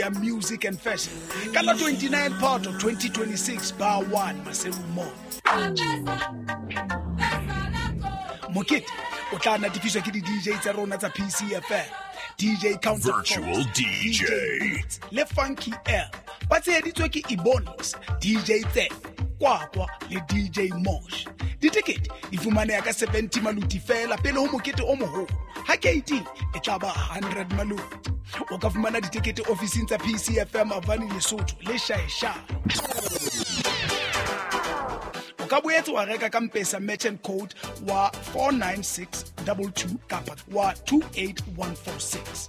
Ya Music and Fashion ka la 29 Phato 2026 Bar 1 Maseru Mall. Mokete o tla natefiswa ke di-DJ tsa rona tsa PCFM, DJ Counter, Virtual DJ. Beats le Funky L, ba tsheheditswe ke Ebonix, DJ Tse Kwakwa le DJ Mosh. Ditekete di fumaneha ka 70 maluti fela pele ho mokete o moholo. Ha keiti e tla ba 100 maluti. O ka fumana ditekete ofising tsa PCFM Avani, Lesotho le Shaeshae. O ka boetse wa reka ka Mpesa merchant code wa 49622 kapa wa 28146.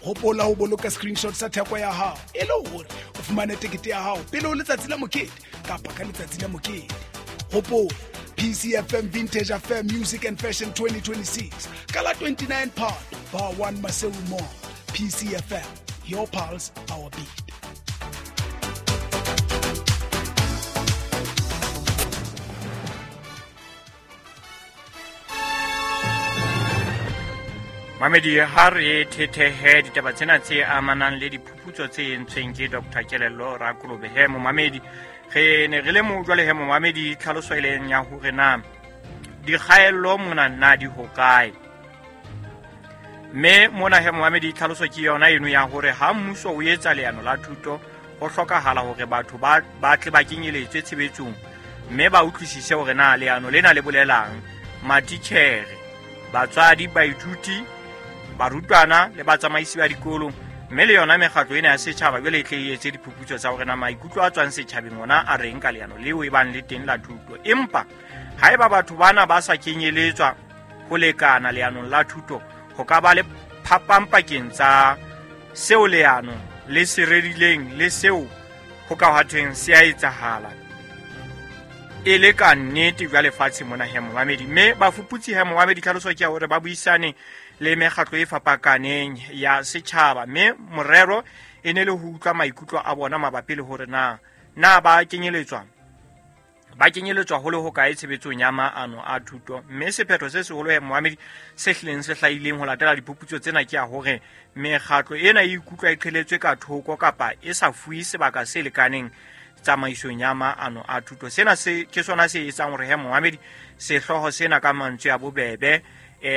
Hopola ho boloka screenshot sa theko ya hao e le hore o fumane tekete ya hao pele ho letsatsi la mokete kapa ka letsatsi la mokete. Hopola, PCFM Vintage Affair Music and Fashion 2026 ka la 29 Phato, Bar 1 Maseru Mall. PCFM, your pulse, our beat. Mamedi, ha re thethehe ditaba tsena tse amanang le diphuputso tse entsweng ke Dr Kelello Rakolobe. He momamedi, re ne re le mo jwale. He momamedi, tlhaloso e leng ya hore na dikgaello mona na di hokae, mme mona he momamedi, tlhaloso ke yona eno ya hore ha mmuso o etsa leano la thuto, ho hlokahala hore batho ba tle ba kenyeletswe tshebetsong mme ba utlwisise hore na leano lena le bolelang. Matitjhere, batswadi, baithuti, barutwana le batsamaisi ba dikolo, mme le yona mekgatlo ena ya setjhaba jwale e tle e etse diphuputso tsa hore na maikutlo a tswang setjhabeng ona a reng ka leano leo e bang le teng la thuto. Empa haeba batho bana ba sa kenyeletswa ho lekana leanong la thuto, ho ka ba le phapang pakeng tsa seo leano le se rerileng le seo ho ka hwathweng se a etsahala e le ka nnete jwa lefatshe mona. He momamedi, mme bafuputsi, he momamedi, tlhaloso ke ya hore ba buisane le mekgatlo e fapakaneng ya setjhaba, mme morero e ne le ho utlwa maikutlo a bona mabapi le hore na ba kenyeletswa ho le hokae tshebetsong ya maano a thuto. Mme sephetho se seholo, he moamedi, se hlileng se hlahileng ho latela diphuputso tsena ke ya hore mekgatlo ena e ikutlwa e qheletswe ka thoko kapa e sa fuwe sebaka se lekaneng tsamaisong ya maano a thuto. Sena se ke sona se etsang hore, he moamedi, sehlooho sena ka mantswe a bobebe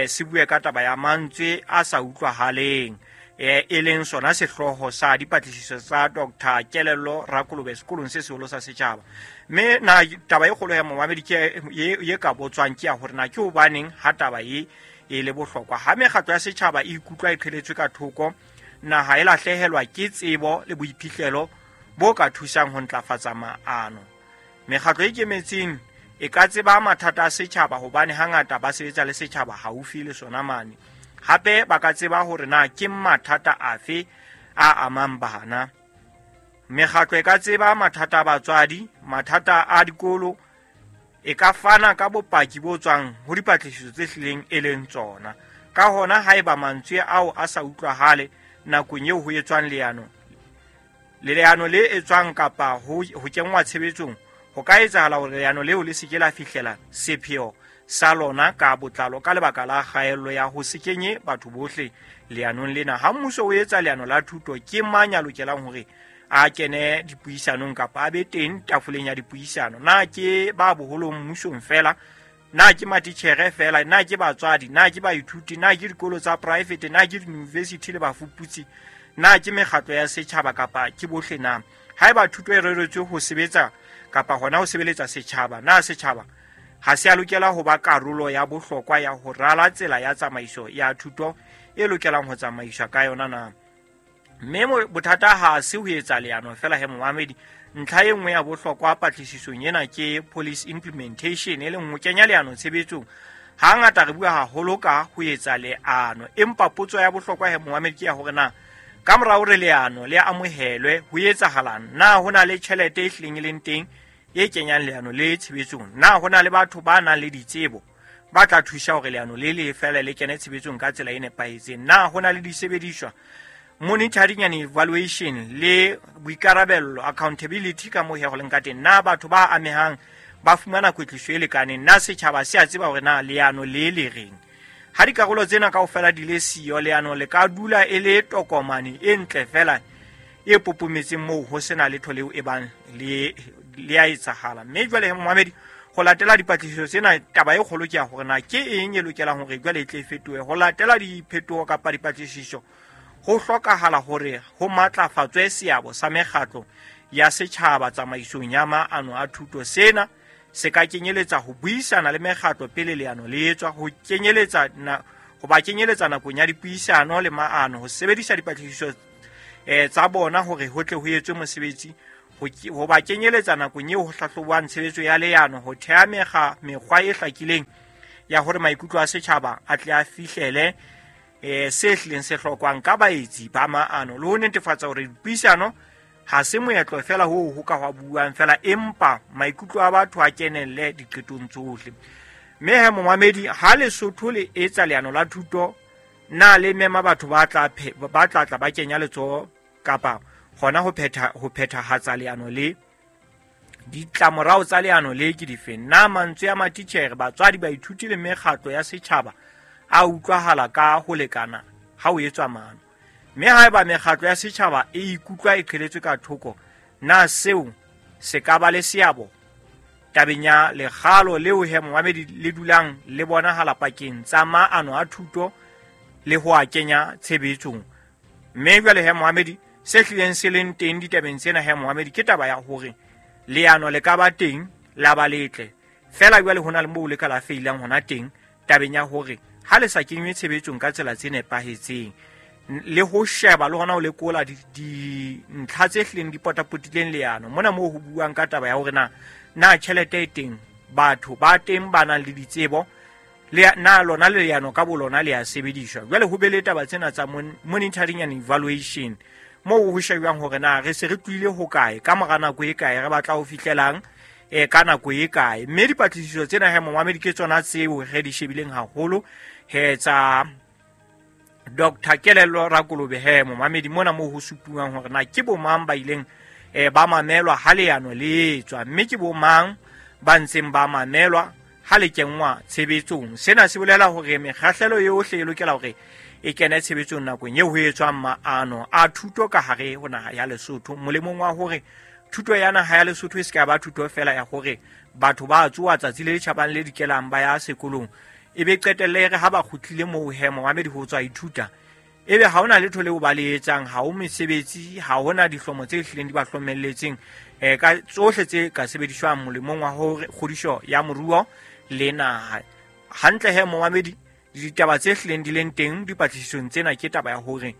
se bue ka taba ya mantswe a sa utlwahaleng, e leng sona sehlooho sa dipatlisiso tsa Dr Kelello Rakolobe sekolong se seholo sa setjhaba. Mme na taba e kgolo ya momamedi ke ye ka botswang ke ya hore na ke hobaneng ha taba e e le bohlokwa. Ha mekgatlo ya setjhaba e ikutlwa e qheletswe ka thoko, naha e lahlehelwa ke tsebo le boiphihlelo bo ka thusang ho ntlafatsa maano. Mekgatlo e ikemetseng e ka tseba mathata a setjhaba hobane hangata ba sebetsa le setjhaba haufi le sona mane. Hape ba ka tseba hore na ke mathata afe a amang bana. Mekgatlo e ka tseba mathata a batswadi, mathata a dikolo, e ka fana ka bopaki bo tswang ho dipatlisiso tse hlileng e leng tsona. Ka hona, haeba mantswe ao a sa utlwahale nakong eo ho etswang leano, le leano le etswang kapa ho kenngwa tshebetsong, ho ka etsahala hore leano leo le se ke la fihlela sepheo sa lona ka botlalo ka lebaka la kgaello ya ho se kenye batho bohle leanong lena. Ha mmuso o etsa leano la thuto, ke mang ya lokelang hore a kene dipuisanong kapa a be teng tafoleng ya dipuisano? Na ke ba boholong mmusong fela? Na ke matitjhere fela? Na ke batswadi? Na ke baithuti? Na ke dikolo tsa poraefete? Na ke diyunivesithi le bafuputsi? Na ke mekgatlo ya setjhaba kapa ke bohle? Na haeba thuto e reretswe ho sebetsa kapa hona ho sebeletsa setjhaba, na setjhaba ha se a lokela ho ba karolo ya bohlokwa ya ho rala tsela ya tsamaiso ya thuto e lokelang ho tsamaiswa ka yona na? Mme bothata ha se ho etsa leano fela, he momamedi. Ntlha e nngwe ya bohlokwa patlisisong ena ke policy implementation, e leng ho kenya leano tshebetsong. Hangata re bua haholo ka ho etsa leano, empa potso ya bohlokwa, he momamedi, ke ya hore na ka mora hore leano le amohelwe ho etsahalang? Na ho na le tjhelete e hlileng e leng teng e kenyang leano le tshebetsong? Na ho na le batho ba nang le ditsebo ba tla thusa hore leano le le fela le kene tshebetsong ka tsela e nepahetseng? Na ho na le disebediswa, monitoring and evaluation, le boikarabello, accountability, ka moo he go leng ka teng? Na batho ba amehang ba fumana kwetliso e lekaneng? Na setjhaba se a tseba hore na leano le le reng? Ha dikarolo tsena kaofela di le siyo, leano le ka dula e le tokomane e ntle fela. e popometseng moo ho sena letho leo e bang le a etsahala. Mme jwale momamedi, ho latela dipatlisiso tsena, taba e kgolo ke ya hore na ke eng e lokelang hore jwale e tle e fetohe. Ho latela diphetoho kapa dipatlisiso, ho hlokahala hore ho matlafatswe seabo sa mekgatlo ya setjhaba tsamaisong ya maano a thuto. Sena se ka kenyeletsa ho buisana le mekgatlo pele leano le etswa, ho kenyeletsa ho ba kenyeletsa nakong ya dipuisano le maano, ho sebedisa dipatlisiso tsa bona hore ho tle ho etswe mosebetsi, ho ba kenyeletsa nakong eo ho hlahlobwang tshebetso ya leano, ho theha mekgwa e hlakileng ya hore maikutlo a setjhaba a tle a fihlele se hlileng se hlokwang ka baetsi ba maano, le ho netefatsa hore dipuisano ha se moetlo fela hoo ho ka hwa buang fela, empa maikutlo a batho a kenelle diqetong tsohle. Mme he momamedi, ha Lesotho le etsa leano la thuto, na le mema batho ba tla tla ba kenya letsoho kapa hona ho phethahatsa leano le? Ditlamorao tsa leano le ke difeng? Na mantswe a matitjhere, batswadi, baithuti le mekgatlo ya setjhaba a utlwahala ka ho lekana ha o etswa maano? Mme haeba mekgatlo ya setjhaba e ikutlwa e qheletswe ka thoko, na seo se ka ba le seabo tabeng ya lekgalo leo he momamedi le dulang le bonahala pakeng tsa maano a thuto le ho a kenya tshebetsong? Mme jwale he momamedi, se hlileng se leng teng ditabeng tsena he momamedi ke taba ya hore leano le ka ba teng la ba letle fela, jwale ho na le moo le ka la feilang hona teng tabeng ya hore ha le sa kenywe tshebetsong ka tsela tse nepahetseng, le ho sheba le hona ho lekola dintlha tse hlileng di potapotileng leano. Mona moo ho buang ka taba ya hore na tjhelete e teng, batho ba teng ba nang le ditsebo, le na lona le leano ka bolona le a sebediswa. Jwale ho be le taba tsena tsa monitoring and evaluation, moo ho shebjwang hore na re se re tlohile hokae, ka mora nako e kae, re batla ho fihlelang ka nako e kae. Mme dipatlisiso tsena he momamedi ke tsona tseo re di shebileng haholo he tsa Dr. Kelello Rakolobe he momamedi, mona moo ho supuwang hore na ke bomang ba ileng ba mamelwa ha leano le etswa, mme ke bomang ba ntseng ba mamelwa ha le kenngwa tshebetsong. Sena se bolela hore mekgahlelo yohle e lokela hore e kene tshebetsong nakong eo ho etswang maano a thuto ka hare ho naha ya Lesotho, molemong wa hore thuto ya naha ya Lesotho e se ka ba thuto fela ya hore batho ba tsoa tsatsi le tjhabang le dikelang ba ya sekolong, e be qetelle re ha ba kgutlile moo he momamedi ho tswa ithuta, ebe ha hona letho leo ba le etsang, ha ho mesebetsi, ha hona dihlomo tse hlileng di ba hlomelletseng ka tsohle tse ka sebediswang molemong wa hore kgodiso ya moruo le naha. Hantle he momamedi, ditaba tse hlileng di leng teng dipatlisisong tsena ke taba ya hore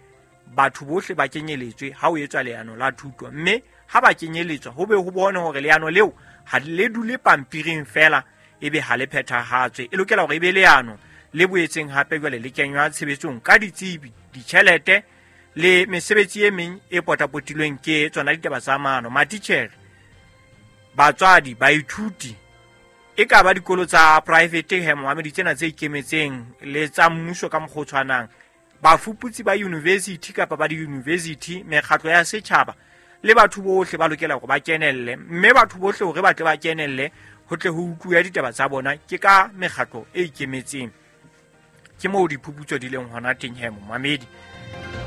batho bohle ba kenyeletswe ha ho etswa leano la thuto, mme ha ba kenyeletswa ho be ho bone hore leano leo ha le dule pampiring fela ebe ha le phethahatswe. E lokela hore e be leano le boetseng hape jwale le kenywa tshebetsong ka ditsebi, ditjhelete le mesebetsi e meng e potapotilweng ke tsona ditaba tsa maano. Matitjhere, batswadi, baithuti, e ka ba dikolo tsa private he momamedi tsena tse ikemetseng le tsa mmuso ka mokgwa o tshwanang, bafuputsi ba university kapa ba di-university, mekgatlo ya setjhaba le batho bohle ba lokela hore ba kenelle. Mme batho bohle hore ba tle ba kenelle ho tle ho utluwe ditaba tsa bona ke ka mekgatlo e ikemetseng. Ke moo diphuputso di leng hona teng he momamedi.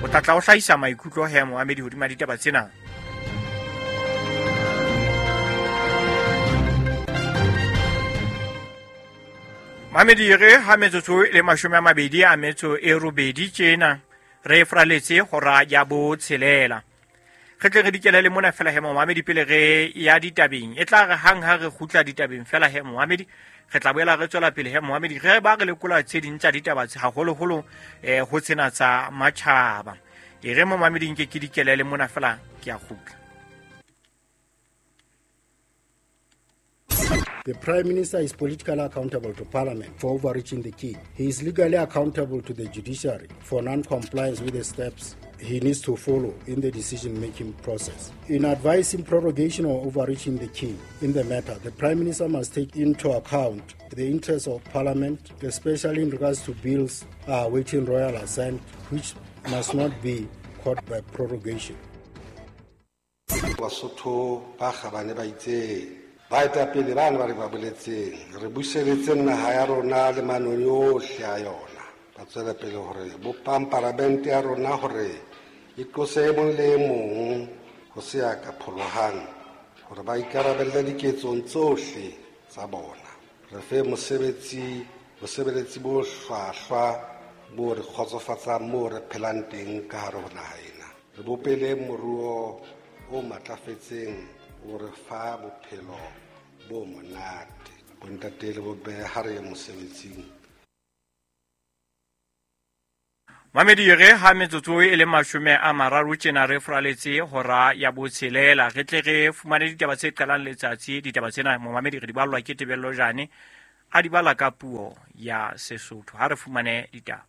O tla tla o hlahisa maikutlo he momamedi hodima ditaba tsena. Mamedi, re ha metsotso le 28 tjena re fraletse hora ya 6. Re tle re dikele le mona fela he momamedi pele re ya ditabeng. E tla re hang ha re kgutla ditabeng fela he momamedi, re tla boela re tswela pele he momamedi, re ba re lekola tse ding tsa ditaba tse haholoholo ho tsena tsa matjhaba. E re momamedi nke ke dikele le mona fela, ke a kgutla. The Prime Minister is politically accountable to Parliament for overreaching the king. He is legally accountable to the judiciary for non-compliance with the steps he needs to follow in the decision-making process. In advising prorogation or overreaching the king in the matter, the Prime Minister must take into account the interests of Parliament, especially in regards to bills awaiting royal assent, which must not be caught by prorogation. Basotho ba kgabane ba itseng, baetapele ba ne ba re ba boletseng, re buseletse naha ya rona le manoni ohle a yona. Ba tswela pele hore bopang paramente ya rona hore e tlose e mong le e mong Ho se ya ka pholohang hore ba ikarabelle diketsong tsohle tsa bona. Re fe mosebetsi bosebeletsi bo hlwahlwa bo re kgotsofatsang moo re phelang teng ka hare ho naha ena. Re bopele moruo o matlafetseng o re fa bophelo bo monate. Bontate le bomme ha re ye mosebetsing. Mamedi re ha metsotso e le 30 tjena re furaletse hora ya botshelela re tle re fumane ditaba tse qalang letsatsi. Ditaba tsena momamedi re di ballwa ke Tebello Jane, a di bala ka puo ya Sesotho. Ha re fumane ditaba.